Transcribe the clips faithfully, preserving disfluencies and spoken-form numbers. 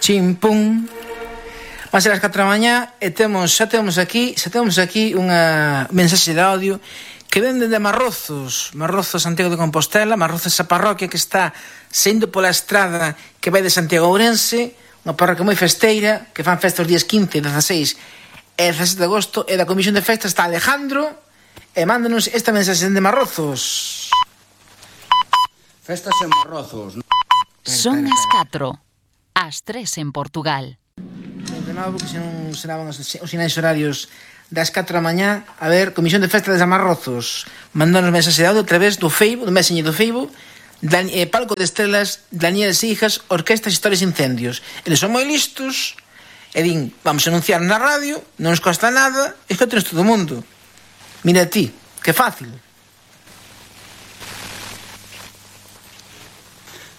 Chimpum. Van ser as catro da mañá e temos, xa temos aquí, xa temos aquí unha mensaxe de audio que ven dende Marrozos, Marrozos, Santiago de Compostela, Marrozos, esa parroquia que está saindo pola estrada que vai de Santiago a Ourense, unha parroquia moi festeira, que fan festa os días quince, dezaseis e dezasete de agosto, e da comisión de festa está Alejandro, e mándanos esta mensaxe de Marrozos. Festas en Marrozos. Son as catro, as tres en Portugal. De novo, que se non sonaban os, os sinais horarios das catro da mañá. A ver, comisión de festa de Marrozos, mandando mensaxe de audio a través do Facebook, do Messenger do Facebook, Dan, eh, Palco de Estrelas, Daniel Sijas, Orquestas Historias e Incendios. Eles son moi listos e din, vamos a anunciar na radio, non nos costa nada, e que tens todo o mundo. Mira ti, que fácil.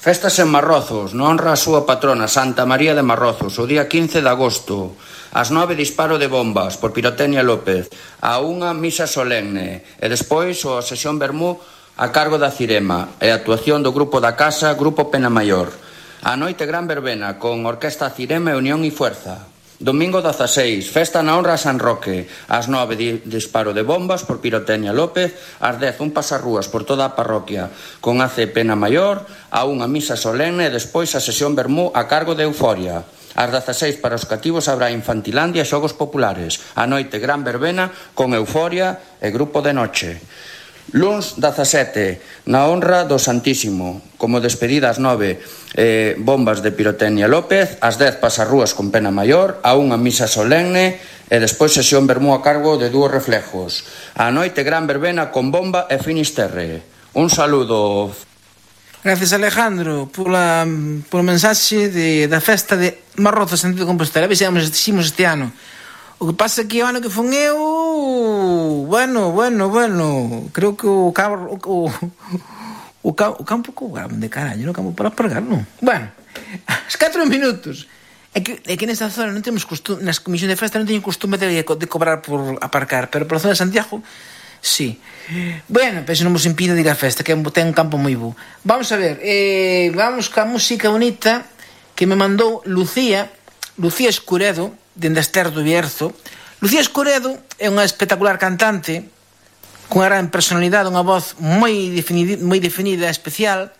Festas en Marrozos, non honra a súa patrona Santa María de Marrozos, o día quince de agosto. Ás nove disparo de bombas por Pirotecnia López, a unha misa solemne e despois a sesión vermú a cargo da Cirema e a actuación do grupo da casa, Grupo Pena Maior. A noite gran verbena con Orquesta Cirema e Unión e Fuerza. Domingo dezaseis, festa na honra a San Roque. Ás nove di, disparo de bombas por Pirotecnia López. Ás dez un pasarrúas por toda a parroquia con A C Pena Maior, a unha misa solemne e despois a sesión vermú a cargo de Euforia. Ás dezaseis para os cativos habrá Infantilandia e xogos populares. A noite gran verbena con Euforia e Grupo de Noche. Luns dezasete, na honra do Santísimo, como despedida ás nove, eh, bombas de Pirotecnia López, ás dez pasarrúas con Pena Maior, a unha misa solemne e despois sesión vermú a cargo de dúos reflejos. A noite gran verbena con bomba e Finisterre. Un saludo. Gracias, Alejandro, pola, pola mensaxe de, da festa de Marrozos, Santiago de Compostela. Vexamos este ano. O que pasa é que o ano que fun eu, bueno, bueno, bueno, creo que o cabo, o, o, o campo co grande, carallo, no campo para aparcar, non? Bueno, as catro minutos. É que, é que nesta zona non temos costume, nas comisións de festa non teñen costume de, de cobrar por aparcar, pero pola zona de Santiago, sí. Bueno, pero non vos impide de ir á festa, que ten un campo moi bo. Vamos a ver, eh, vamos ca música bonita que me mandou Lucía, Lucía Escuredo, dende Ester do Bierzo. Lucía Escuredo é unha espectacular cantante cunha gran personalidade, unha voz moi definida, moi definida, especial,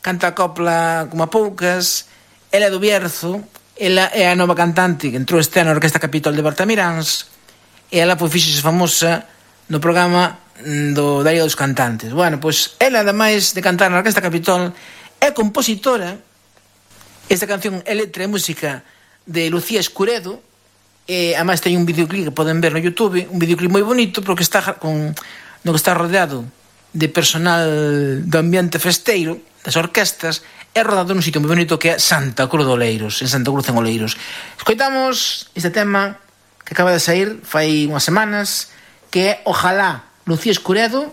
canta a copla como a poucas. Ela é do Bierzo, ela é a nova cantante que entrou este ano na Orquesta Capitol de Bertamiráns e ela foi fíxose famosa no programa do Darío dos Cantantes. Bueno, pois ela, ademais de cantar na Orquesta Capitol, é compositora. Esta canción é letra e música de Lucía Escuredo, e ademais ten un videoclip que poden ver no YouTube, un videoclip moi bonito porque está con, no que está rodeado de personal do ambiente festeiro, das orquestas, é rodado nun sitio moi bonito que é Santa Cruz de Oleiros, en Santa Cruz en Oleiros. Escoitamos este tema que acaba de sair fai unhas semanas, que é Ojalá, Lucía Escuredo,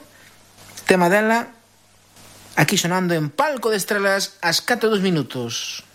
tema dela, aquí sonando en Palco de Estrelas ás catro e dos minutos.